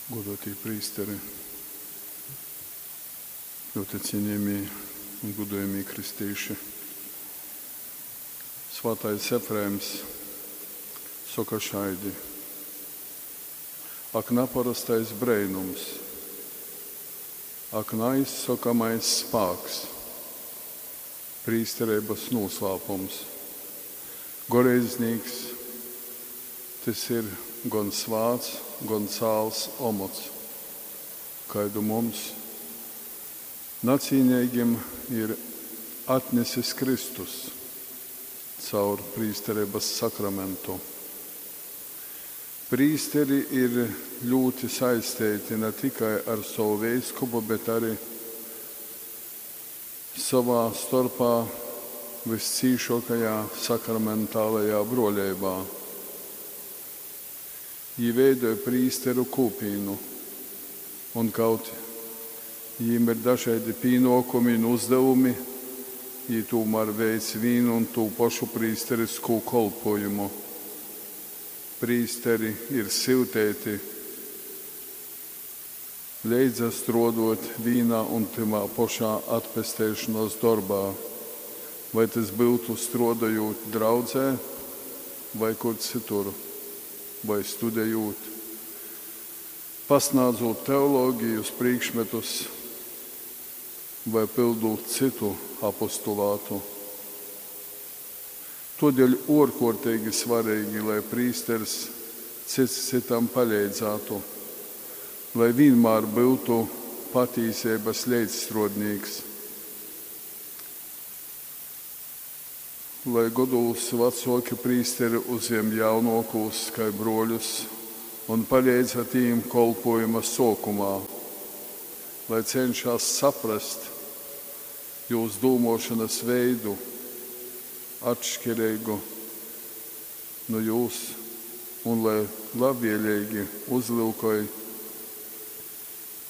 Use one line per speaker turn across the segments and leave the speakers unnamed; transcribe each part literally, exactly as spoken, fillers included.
Godōtī prīsteri, ļoti cienījamie un godojamie kristīši. Svātais Efrēms soka šaidi: Ak, naparostais breinums, ak, naizsokamais spāks, prīstereibas noslēpums. Goreidznīks tys ir gan svāts, gan cāls omots, kaidu mums nacīneigim ir atnesis Kristus caur prīstereibas sakramentu. Prīsteri ir ļoti saisteiti ne tikai ar savu veiskupu, bet arī savā starpā viscīšākajā sakramentālajā broļeibā. Jī veidoja prīsteru kūpīnu, un kaut jīm ir dažādi pienākumi un uzdevumi, jī tomēr veic vienu un tū pašu prīsterisko kolpojumu. Prīsteri ir syutēti leidzastrodot vīnā un tymā pošā atpesteišonas dorbā, vai tys byutu strodojūt draudzē vai kur cytur, vai studejūt, pasnādzūt teologijas prīkšmetus vai pildūt cytu apostulātu. Todēļ ārkārtīgi svarīgi, lai prīsters cits citam paleidzātu, lai vienmēr būtu patīsības leidzstrodnīks, lai godūs vecāki prīsteri uzjem jaunākos kā broļus un palīdz tīm kolpojuma sākumā, lai cenšas saprast jūs dūmošanas veidu atšķirīgu no jūs un lai labvēlīgi uzlūkoj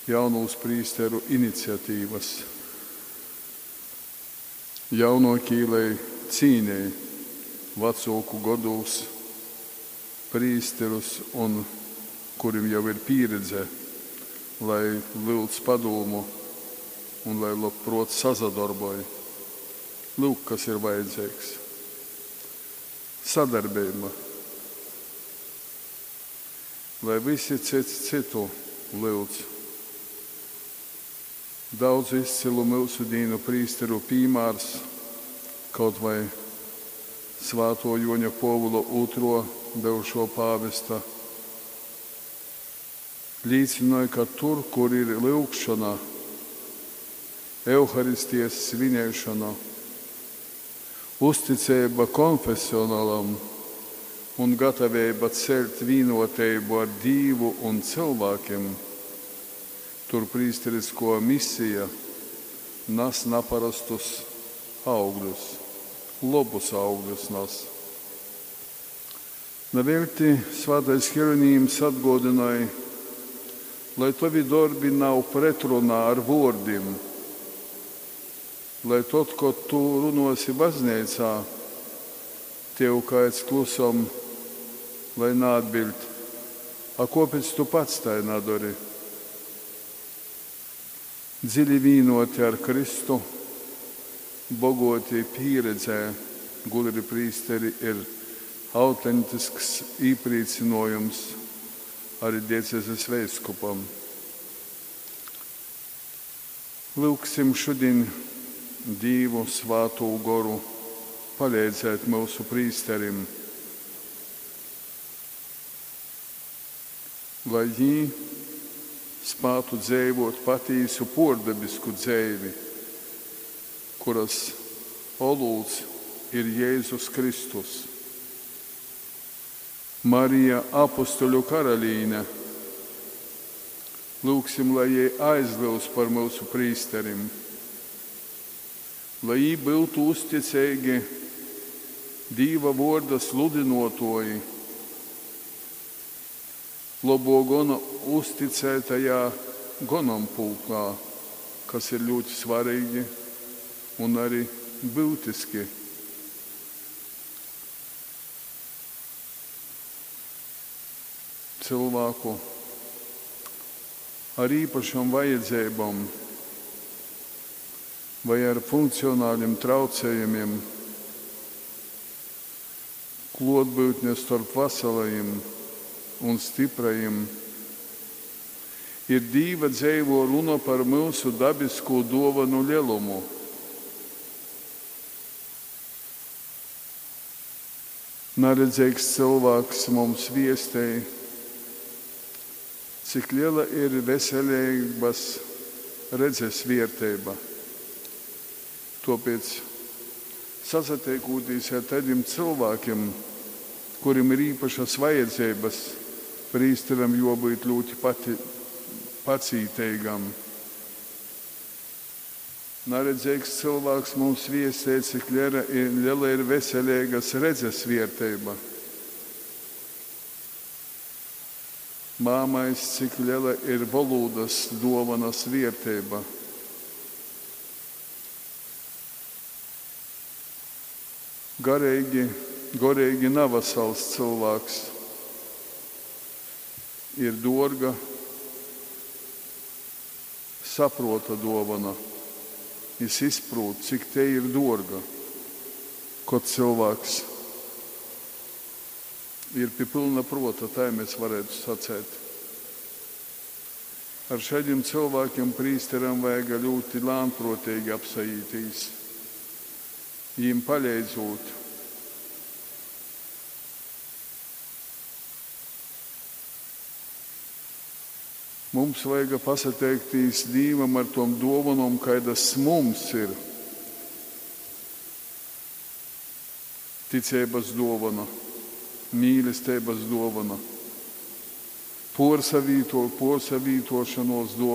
jaunūs prīsteru iniciatīvas. Jaunākī, lai cīnēja vecāku godūs prīsterus un kurim jau ir pieredze, lai lūdz padomu un lai labprot sasadarboj. Lūk, kas ir vajadzīgs. Sadarbība. Lai visi cits citu lūdz. Daudz izcilu mūsu dīnu prīsteru piemērs, kaut vai Svāto Joņa Povula otro bijušo pāvesta, līcināja, ka tur, kur ir lūgšana, Euharistijas svinēšana, uzticība konfesionālam un gatavība celt vienotību ar Dievu un cilvēkiem, tur prīsterisko misija nes naparastus augļus, labus augļus nes. Nevelti Svētais Hieronīms atgādināja, lai tavi darbi nav pretrunā ar vārdiem, lai tad, kad tu runosi baznīcā, tev kāds klusom, lai neatbild, a kāpēc tu pats tai nedari? Dziļi vienoti ar Kristu, bogoti pieredzē, gudri prīsteri ir autentisks īpriecinājums arī diecezes veiskupam. Lūksim šodien Dievu Svātū Goru palīdzēt mūsu prīsterim, lai viņi spētu dzīvot patīsu pordabisku dzīvi, kuras olūts ir Jēzus Kristus. Marija apustuļu karalīne, lūgsim, lai jai aizlūdz par mūsu prīsterim, lai jī būtu uzticīgi Dīva vorda sludinotoji, labo gona uzticētajā gonampulkā, kas ir ļoti svarīgi un arī būtiski. Cilvēku Ar īpašom vajadzeibom vai ar funkcionalim traucējumim kluotbyutne storp vasalajim un styprajim ir Dīva dzeivuo runa par myusu dabiskū duovonu lelumu. Naredzeigs cylvāks mums viestej, cik lela ir veseleibys redzis vierteiba. Tuopiec, sasateikūtīs ar taidim cylvākim, kurim ir īpašys vajadzeibys, prīsteram juobyut ļūti pacīteigam. Naredzeigs cylvāks mums viestej, cik lela ir, lela ir veseleigys redzis vierteiba. Māmais, cik lela ir volūdys duovonys vierteiba. Gareigi, goreigi navasals cylvāks ir duorga sapruota duovona. Jis izprūt, cik tei ir duorga, kod cylvāks ir pi pylna pruota, tai mēs varētu sacēt. Ar šaidim cylvākim prīsteram vajaga ļūti lānpruoteigi apsaītīs, jim paleidzūt. Mums vajaga pasateiktīs Dīvam ar tom duovonom, kaidas mums ir. Ticeibys duovona, mīlesteibys duovona, puorsavīto, puorsavītuošonuos duovona.